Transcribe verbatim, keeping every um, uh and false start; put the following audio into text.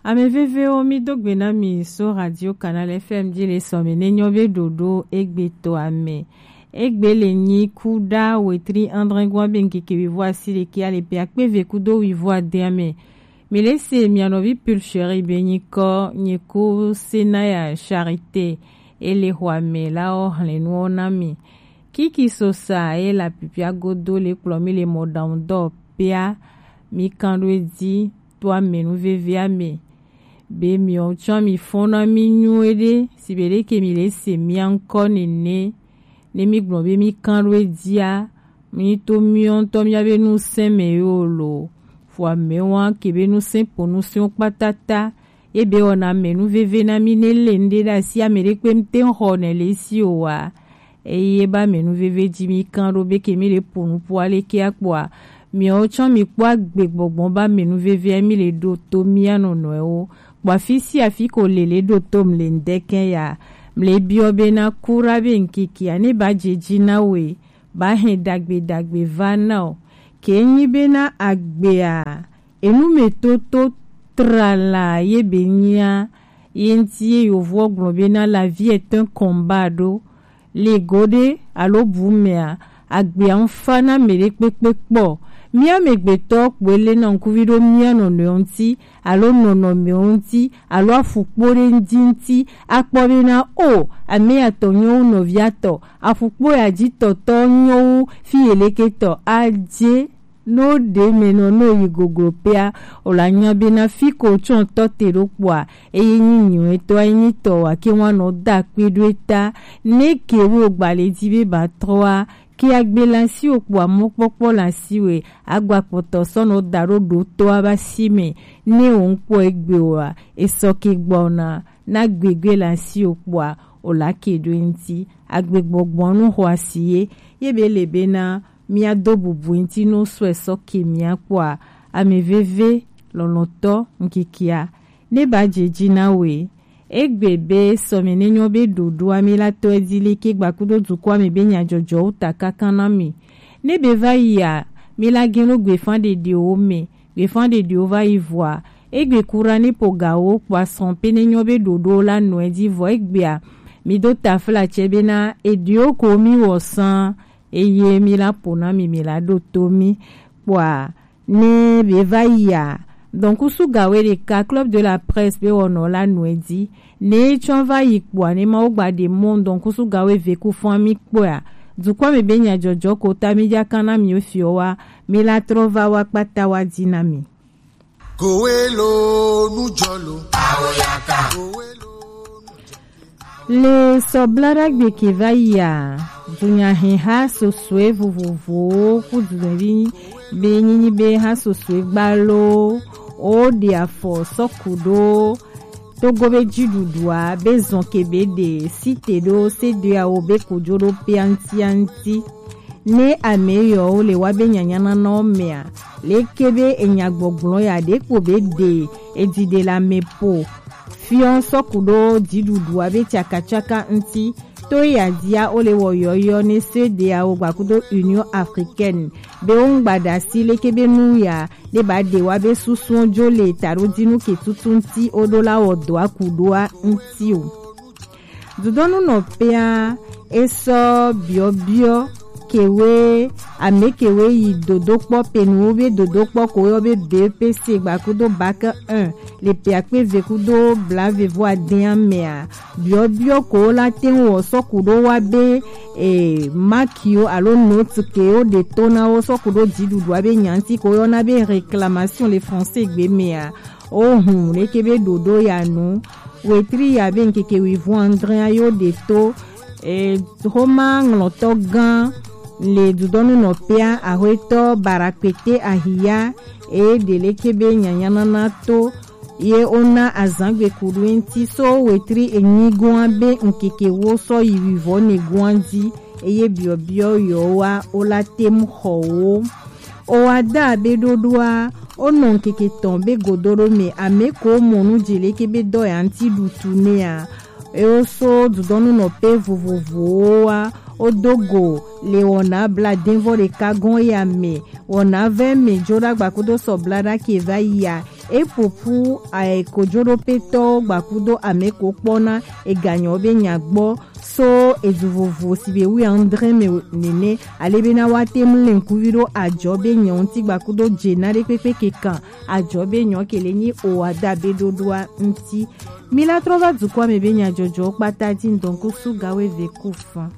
Ame vevewo, mi do gbe na mi so Radio Canal F M ji le sɔme ne nyɔ be ɖoɖo egbe to ame. Egbe le nyi kuɖa wetri andre gwa be ŋkeke wivo asi ɖeke ale pe akpe ve kudo wivo ade ame. Mi le se mia nɔvi Pulcheri be nyikɔ nye ko Senaya Charité ele xɔa me la o hlɛnuwo na mi. Kiki sosa e la pipia godo le kplɔ mi le mɔɖaŋudɔ pea mi kan ɖo edzi to ame nu vevia me. Be miɔ tsɔ mi fɔn na mi nyuie ɖe si be ɖeke mi le se mia ŋkɔ nene ne mi gblɔ be mi kan ɖo edzia mi to miɔ ŋutɔ mia be nu sɛn me yo lo. Fo ame wa ke be nu sɛn po nu sɛn kpatata. Ebe wɔna ame nu veve na mi ne le ŋɖe ɖe asi ame ɖe kpe ŋte ŋxɔ ne le si o wa. Eye ba ame nu veve ji mi kan ɖo be ke mi le po nu po ale ke akpɔa. Miawo tsɔ mi kpɔ agbe gbɔgbɔ ba ame nu veve mi le ɖo to mia nɔnɔewo. Kpɔ afi si afi ko le le ɖo to mle ŋdɛkɛ ya. Mle biɔ be na kura be ŋkiki ane ba je ji na we. Ba hɛn dagbe dagbe va na o. Ke nyi be na agbea. Enumetoto trala ye be nyia ye ŋti ye yovoɔ gblɔ be na la vie tɔn kɔnba ɖo le go ɖe alo bu mea agbea ŋfa na me ɖe kpekpe kpɔ. Mia megbetɔ kpoe le na ŋkuvi ɖo mia nɔnɔewo ŋti alo nɔnɔmewo ŋti alo afukpo ɖe ŋdi ŋti akpɔ be na o ame atɔ nyɔwo nɔvia tɔ afukpo ya ji tɔtɔ nyɔwo fi yeleke tɔ adze. No ɖe me nɔ no yi goglo pea o la nya be na fi ko tsɔ tɔ te ɖo kpɔa eye nyi nyuie tɔ enyi tɔ wa ke wa nɔ da kpe ɖo eta ne ke wo gba le di be ba trɔa ke agbe la si o kpɔa mɔkpɔkpɔ la si we agba kpɔtɔ sɔ nɔ da ɖo ɖo tɔa ba si me ne o ŋkpɔ egbe wa esɔ ke gbɔna na gbegbe la si o kpɔa o la ke ɖo ŋti agbe gbɔgbɔ nu xɔ asi ye ye be le be na mia do bubu ŋti no sɔe sɔ ke mia kpɔa ame veve lɔlɔtɔ ŋkikia ne ba je ji na we. Egbe be sɔme ne nyɔ be ɖoɖoa mi la tɔ edi le ke gba kudo dukɔa me be nyajɔjɔwo ta kaka na mi. Ne be va yia mi la gen lo gbefa ɖeɖewo me gbefa ɖeɖewo va yi vɔa egbe kura ne pogawo kpɔ asrɔn pe ne nyɔ be ɖoɖo la nɔ edi vɔ egbea mi do tafla tsɛ be na eɖewo ko mi wɔ san eye mi la po na mi mi la ɖo to mi kpɔa ne be va yia dɔnkusu gawe ɖeka club de la presse be wɔnɔ la nɔ edi ne tsɔ va yi kpɔa ne mawo gba ɖe mɔ dɔnkusu gawe ve ku fɔn mi kpɔa dukɔ mi be nyajɔjɔ ko ta mi dza kan na mi fiɔ wa mi la trɔ va wa kpata wa di na mi. Kowelo nujɔlo. Awoyaka. Le sɔblaɖagbe ke va yia dunyahe ha sosoe vovovowo ku dunyavi be nyinyi be ha sosoe gbalo o ɖe afɔ sɔku ɖo togo be dziɖuɖua be zɔn ke be ɖe site ɖo sedeawo be kojo ɖo piantianti. Ne ame yɔwo le wa be nyanyananawo mea leke be enyagbɔgblɔ ya ɖekpo be ɖe edziɖe le ame po fiɔ sɔku ɖo dziɖuɖua be tsakatsaka ŋti to ya dia wo le wɔ yɔyɔ ne sedeawo gbakudo union africaine be wo ŋgba ɖasi leke be nu ya ne ba ɖe wa be susuɔ jo le taɖodinu ke tutu ŋti wo ɖo la wɔ dɔa ku ɖoa ŋti o. Dudɔnu nɔ pea esɔ biɔbiɔ kewe ame kewe yi dodokpɔ penuwo be dodokpɔ ko yɔ be B E P C gbakudo bac un le pe akpe ve kudo blave vo adea mea biɔbiɔ ko la te wɔ sɔku ɖo wa be e makiwo alo note kewo ɖe to na wo sɔku ɖo dziɖuɖua be nyanti ko yɔ na be réclamation le français gbe mea. Ohun leke be ɖoɖo ya nu wetri ya be ŋkeke wivo andre yo ɖe to e homa ŋlɔtɔ gã le dudɔnu nɔpea ahoetɔ barakpete ahiya e ɖe leke be nyanyanana to ye wona azangbe kuɖu ŋti so wetri enyi goa be ŋkeke wo sɔ yi wivɔ ne goa di eye biɔbiɔ yɔ wa wo la tem xɔ wo. O wa da be ɖoɖoa o nɔ ŋkeke tɔn be godo ɖo me ame ko mɔ nu dze leke be dɔ ya ŋti ɖutu nea ewo so dudɔnu nɔ pe vovovowo wa o do go le wɔna bla denvɔ ɖeka gɔn ya me wɔna vɛ me jo ɖagba kudo sɔ bla ɖa ke va yia E popo ae kojoɖopetɔwo gbakudo ame ko kpɔna eganyawo be nya gbɔ so edu vovo si be wi andre me nene, ale bena woate ŋu lé ŋkuvi ɖo ajɔ be nya ŋuti gbakudo jena ɖe kpekpe kekan ajɔ be nya ke le nyi o adabe ɖoɖoa ŋuti. Mi la trɔ va dukɔa me be nyajɔjɔwo kpata ji ŋdɔ ŋku su gawo eve ku fan.